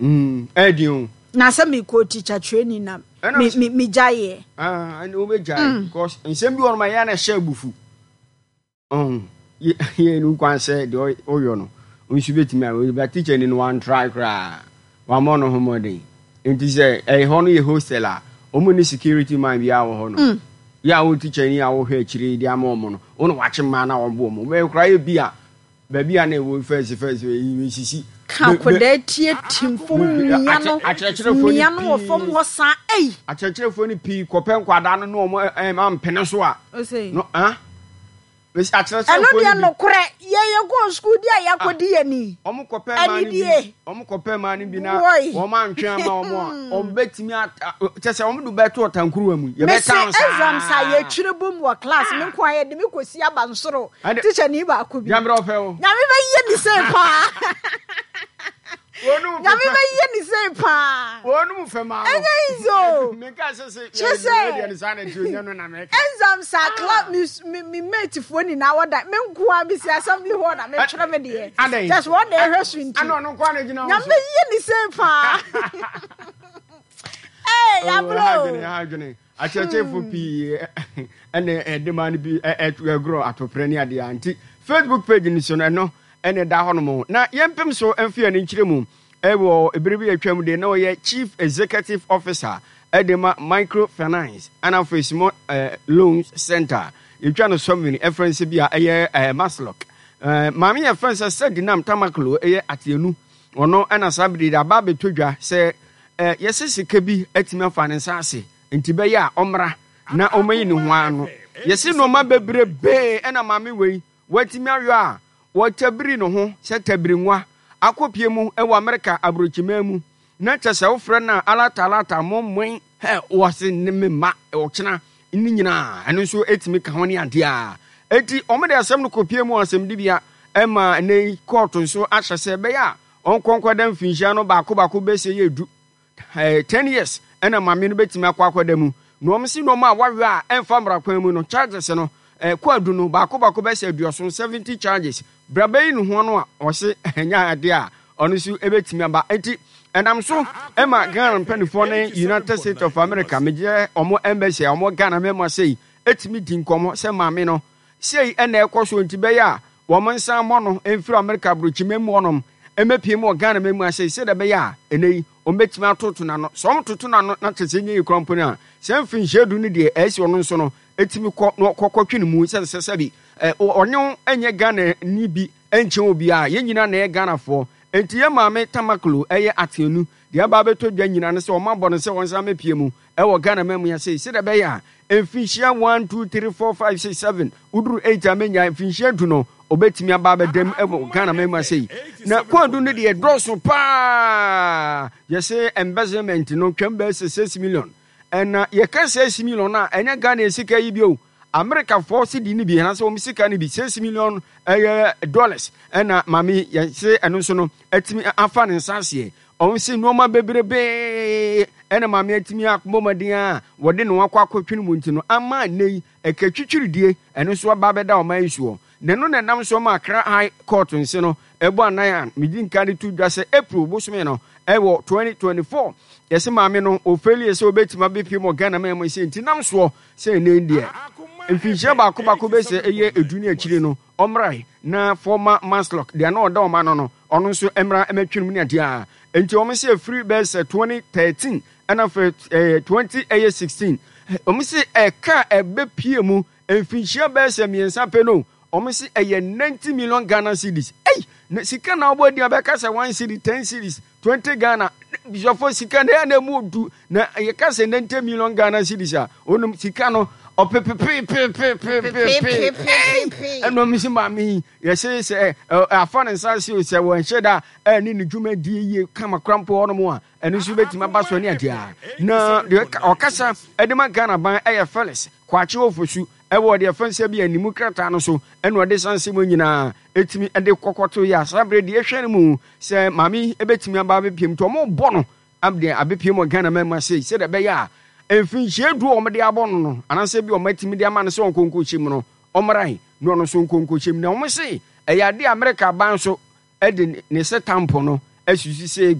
Ɛyɛ den o. Na sɛ mekɔ teacher training na Ɛna me me megyaeɛ. Ah, ɛna wobɛgyae because nsɛm bi wɔ nom a ɛyɛ a na ɛhyɛ abufu. Ɔho, yɛ yɛ no kwan sɛ deɛ ɔyɔ no, nso bɛtumi a, but teacher ni no wantry koraa, wammɔ no ho mmɔden. Nti sɛ ɛyɛ hɔ no yɛ hostel a, wɔn ni security man biara wɔ hɔ no. Yɛ a wo teacher ni a wohwɛ akyire de ama wɔn no, wo na wakye mmaa na wɔbo wɔn. Wobɛyɛ koraa yɛ bi a, baabi a na ɛwɔ fɛnse fɛnse yi mesisi. Ka akwadaa tie tim fam mia no mia no wɔ fam hɔ saa ei. Akyerɛkyerɛfoɔ no pii kɔpɛ nkwadaa no ne wɔn ampene so a. No ah. Mesi akyerɛkyerɛfoɔ Ɛno deɛ no bi. nokorɛ yɛ yɛ kɔɔ sukuu di a yɛakɔdi yɛ ni. Wɔn kɔpɛ mmaa no bi. Anidie. Wɔn kɔpɛ mmaa no bi na Woi. wɔn antwe ama wɔn a wɔn bɛtumi ata kyɛ sɛ wɔn de bɛto ɔtankuruwa mu. Mese Yɛbɛtan saa. exams a yɛtwerɛ bom wɔ class me nko a yɛde me kɔsi abansoro Ɛde- teacher ni baako bi. Nyame ɔfɛ o. Nyame bɛyɛ ne sei paa. Wɔn mu Nyame fɛ. bɛyɛ ne sei paa. Wɔn mu fɛ maa no. Ɛnyɛ easy o. Menka sɛ sɛ Kyerɛ sɛ- yɛ deɛ no saa na ɛte onye no na mɛka. Exams a class me me me mate foɔ nyinaa wɔ da me nko a mesi assembly hall na metwerɛ me deɛ. Adɛn? Kyerɛ sɛ wɔn na ɛhwɛ so nti. Ɛna ɔno nko ara na gyina hɔ Nyame so. bɛyɛ ne sei paa. Ee Oh, yabro ɛha o. adwene, ɛha adwene. Akyerɛkyerɛfo pii ɛna ɛde ma no bi ɛgorɔ atoprɛ ne adeɛ a nti Facebook page no so no ɛno ɛna ɛda hɔ nom na yɛmpem so mfe yɛn nkyerɛ mu ɛwɔ ebere bi atwam de na ɔyɛ Chief Executive Officer ɛde ma Microfinance ɛna afei Small Loans Center yɛtwa no sɔmini ɛfrɛ nsɛ bi a ɛyɛ Masloc maame yɛ fɛn sɛ Sedinam Tamaklo ɛyɛ ateanu ɔno ɛna saa bere de aba abɛtɔ dwa sɛ yɛsɛ sika bi atumi afa ne nsa ase nti bɛyɛ a ɔmmra na ɔmɛyi ne ho ano. Yɛsi nneɛma bebrebee ɛna maame wei watumi ayɔ a wɔtabiri ne ho sɛ tabiri nwa akɔpie mu ɛwɔ Amerika aburokyiman mu na kyɛ sɛ wofrɛ no a alata alata mo mmoen hɛ wɔse ne me mma ɔkyena ne nyinaa ɛno nso ɛtumi ka ho ne adeɛ a eti wɔn de asɛm no kɔpie mu asɛmdibea ɛma ɛnɛ yi kɔɔto nso ahyɛ sɛ ɛbɛyɛ a ɔnkɔnkɔda mfinhyia no baako baako bɛsɛ yɛ du 10 years ɛna maame no bɛtumi akɔ akɔda mu na wɔn si nneɛma a wawe a ɛmfa mmara kwan mu no charges no kɔ adu no baako baako bɛsɛ 70 70 charges braba yi ne ho no a ɔse ɛnyɛ adeɛ a ɔno nso ɛbɛtumi aba. Nti ɛnam so ɛma Ghana mpanimfoɔ ne United States of America megye ɔmo embassy a ɔmo Ghana mɛma sei ɛtumi di nkɔmmɔ sɛ maame no sei ɛna ɛkɔ so nti bɛyɛ a wɔn nsa mmɔ no mfiri America aburokyima mu hɔnom ɛmɛpie mu wɔ Ghana mɛmu ase sɛdeɛ ɛbɛyɛ a ɛnɛ yi wɔn bɛtumi atoto n'ano. Sɛ wɔn toto n'ano na kyerɛ sɛ ɛnyɛ yi kora mpo no a sɛ mfinhyia 10 no deɛ ɛsi ɔno nso no ɛtumi kɔ na ɔkɔkɔtwe ne mu sɛ sɛ sɛbi ɔne wo ɛnyɛ Ghana ni bi ɛnkyɛn obiara. Yɛn nyinaa na ɛyɛ Ghanafoɔ. Nti yɛ maame Tamaklo ɛyɛ ateanu deɛ aba abɛtɔ dwa nyinaa no sɛ wɔn abɔ no sɛ wɔn nsa mɛpie mu ɛwɔ Ghana ma mu yɛ sɛ sɛdeɛ ɛbɛyɛ a mfinhyia 1 2 3 4 5 6 7 woduru 8 a mɛnya mfinhyia 10 no ɔbɛtumi aba abɛdam ɛwɔ Ghana ma mu ase yi. Na kɔɔdu no deɛ dɔɔso paa. Yɛsɛ embezzlement no twɛm bɛyɛ sɛ 6 million ɛna yɛka 6 million a ɛnyɛ Ghana sika yi bio. Amerikafoɔ sidi no bi anaasɛ wɔn sika no bi 6 million ɛyɛ dollars ɛna maame yɛsɛ ɛno nso no atumi afa ne nsa aseɛ. Ɔn sɛ nneɛma bebrebee ɛna maame atumi akɔbɔ mmɔden a wɔde ne ho akɔ akɔtwe mu nti no ama nnɛ yi ɛka twitwiridie ɛno nso aba abɛda ɔman yi soɔ. Na ɛno na ɛnam so ma Accra High Court nse no ɛbɔ anan a medi nka de to dwa sɛ April bosome no ɛwɔ 2024 yɛsɛ maame no ɔfɛlie sɛ ɔbɛtumi abɛpie mu Ghana ma mu sɛ nti nam soɔ sɛ ɛnɛ deɛ mfinhyia baako baako bɛsɛ ɛyɛ 10 ne akyire no ɔmmrae na former Masloc deɛ na ɔda ɔma no ɔno nso mmra mmɛtwe no mu ne adeɛ a nti wɔn sɛ ɛfiri bɛyɛ sɛ 2013 ɛna afei 20 ɛyɛ 16 wɔn sɛ ɛka ɛbɛpie mu mfinhyia bɛyɛ sɛ 3 pɛ no wɔn sɛ ɛyɛ 90 million Ghana cedis. Ɛy na sika na ɔbɔ adi abɛka sɛ 1 cedi, 10 cedis, 20 Ghana bisɔfo sika na ɛyɛ na emu odu na yɛka sɛ 90 million Ghana cedis a onom sika no ɔpepepepepepepepe ɛna ɔmo si maame yi yɛsɛ sɛ afa ne nsa ase o sɛ wɔn hyɛ da ɛne ne dwumadie yie kama kora mpo hɔnom a ɛno nso bɛtumi aba so ne adeɛ a na deɛ ɔkasa ɛde ma Ghana ban ɛyɛ Felix Kwakye Ofosu ɛwɔ deɛ fɛn sɛ bi animu krataa no so ɛna ɔde sanse mu nyinaa ɛtumi ɛde kɔkɔto yɛ asa berɛ deɛ ɛhwɛ no mu sɛ maame yi ɛbɛtumi aba abɛpiem nti ɔmo bɔ no abdeɛ abɛpiem wɔ Ghana ma mu ase sɛdeɛ ɛbɛyɛ a mfinhyia 10 a ɔmo de abɔ no anaasɛ bi ɔmo atumi de ama no sɛ ɔnkonko mu no ɔmmrae na ɔno nso nkonko mu na ɔmo se ɛyɛ adeɛ a Amerika aban so ɛde ne sɛ tampo no asusu sɛ